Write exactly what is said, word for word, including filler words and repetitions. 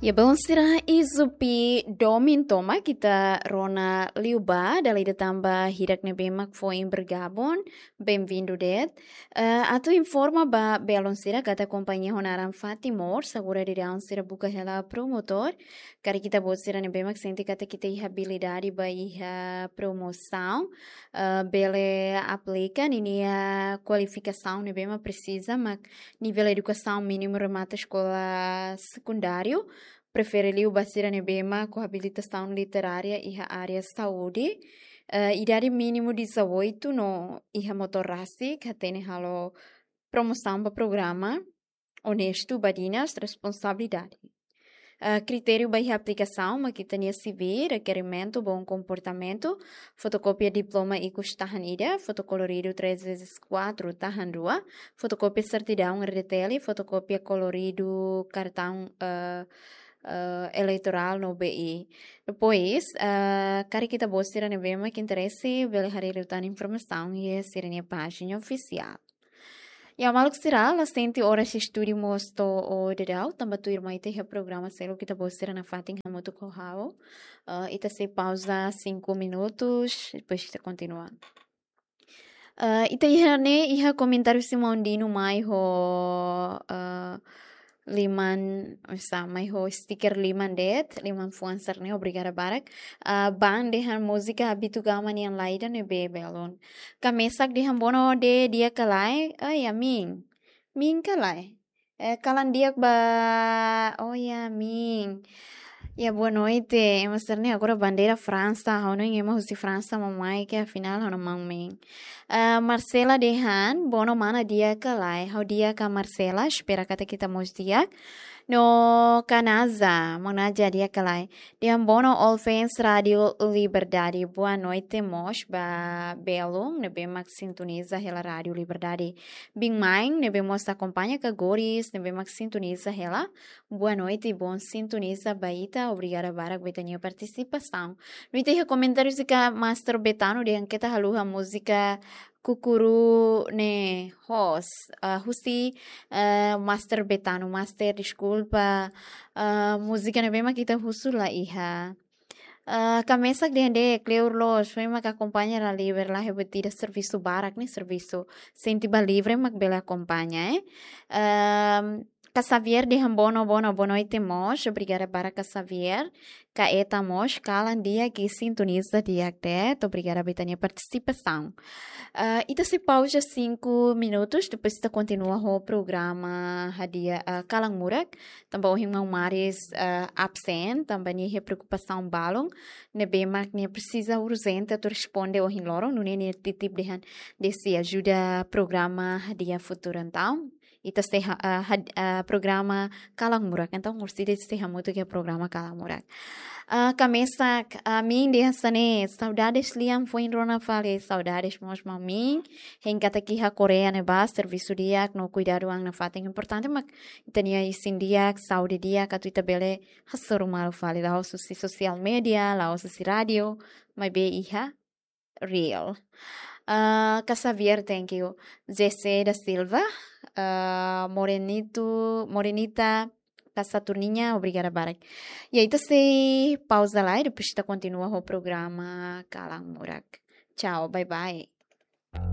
Ya, belun sira, izupi domin tomak ita rona liu ba, dala ida tanba hirak ne'ebé mak foin bergabung, bem-vindo de'it. Eh, atu informa ba belun sira katak kompañia ho naran Fatimor, agora daudaun sira buka hela promotór, karik ita-boot sira ne'ebé mak sente katak ita iha abilidade ba iha promosaun, eh, bele aplika ninia kualifikasaun ne'ebé mak presiza, mak nivel edukasaun mínimu remata eskola sekundáriu, prefere liu ba sira ne'ebé mak ho abilitasaun literária iha área saúde, eh, idade mínimu dezoito no iha motór rasik, hatene halo promosaun ba programa, onestu, badinas, responsabilidade. Eh, kritériu ba iha aplikasaun mak ita-nia C V, rekerimentu, bom comportamento, fotokópia diploma ikus tahan ida, foto koloridu três vezes quatro tahan dua, fotokópia sertidaun R D T L, fotokópia koloridu kartaun, eh, eh, eleitorál no B I. Depois, eh, karik ita-boot sira ne'ebé mak interese, bele haree liután informasaun iha sira-nia pájina ofisiál. Ya, maluk sira, la sente oras estudu mós to'o daudaun, tanba tuirmai ita iha programa seluk ita-boot sira nafatin hamutuk ho ha'u. Eh, ita sei pauza cinco minutos, depois ita kontinua. Eh, ita iha ne'e, iha komentáriu Simão Dino mai ho, eh, liman, oinsá, mai ho stiker liman de'it, liman fuan sira-ne'e, obrigada barak. Eh, Ban dehan múzika Habitu Gama nian laida ne'ebé belun. Kamesak dehan bono de di'ak ka lae, ai, amin. Min ka lae. Eh, kalan di'ak ba, oh ya, min. Ya, boa noite. Ema sira-ne'e agora bandeira Fransa, ha'u hanoin ema husi Fransa mak mai, ke afinál ha'u hanoin maun min. Eh, Marcela dehan, bono mana di'ak ka lae. Ha'u di'ak ka Marcela, espera katak ita mós di'ak. No Kanaza, mana di'ak ka lae. Dehan bono all fans Rádio Liberdade. Boa noite mós ba belun ne'ebé mak sintoniza hela Rádio Liberdade. Biin-main ne'ebé mós akompaña ka Goris ne'ebé mak sintoniza hela. Boa noite, bom sintoniza ba ita. Obrigada barak ba ita-nia partisipasaun. No ita iha komentáriu husi Master Betano dehan keta haluha múzika Kukuru ne'e host. Ah, husi, eh, Master Betano, Master, deskulpa. Ah, múzika ne'ebé mak ita husu la iha. Ah, kamesak dehan de'it, kleur loos, foin mak akompaña la liber, la hebe tida servisu barak ne'e, servisu. Sente ba livre mak bele akompaña, eh. Ehm, Ka Xavier dehan bono, bono, boa noite mós. Obrigada barak Ka Xavier. Ka Eta mós, kalan di'ak i sintoniza di'ak de'it. Obrigada ba ita-nia partisipasaun. Ah, ita sei pauza cinco minutos, depois ita kontinua ho programa hadi'a, ah, Kalan Murak. Tanba ohin maun Maris, ah, absen, tanba nia iha preokupasaun balun ne'ebé mak nia presiza urjente atu responde ohin loron, nune'e nia titip dehan de'it sei ajuda programa hadi'a futuru. Entaun, ita sei ha-, ah, had-, ah, programa Kalan Murak. Entaun, orsida sei hamutuk iha programa Kalan Murak. Ah, kamesak, ah, min dehan hanesan ne'e, saudades lian, foin rona fali, saudades mós maun min. Hein katak iha Koreia ne'ebá, servisu di'ak no kuidadu an nafatin importante, mak ita-nia isin di'ak, saúde di'ak, atu ita bele hasoru malu fali, la'ós husi social media, la'ós husi rádiu, maibé iha real. Ah, Ka Xavier, thank you. Jesse da Silva, ah, Morenito, Morenita, Ka Saturninha, obrigada barak. Ya, ita sei pauza lai, depois ita kontinua ho programa Kalan Murak. Tchau, bye bye.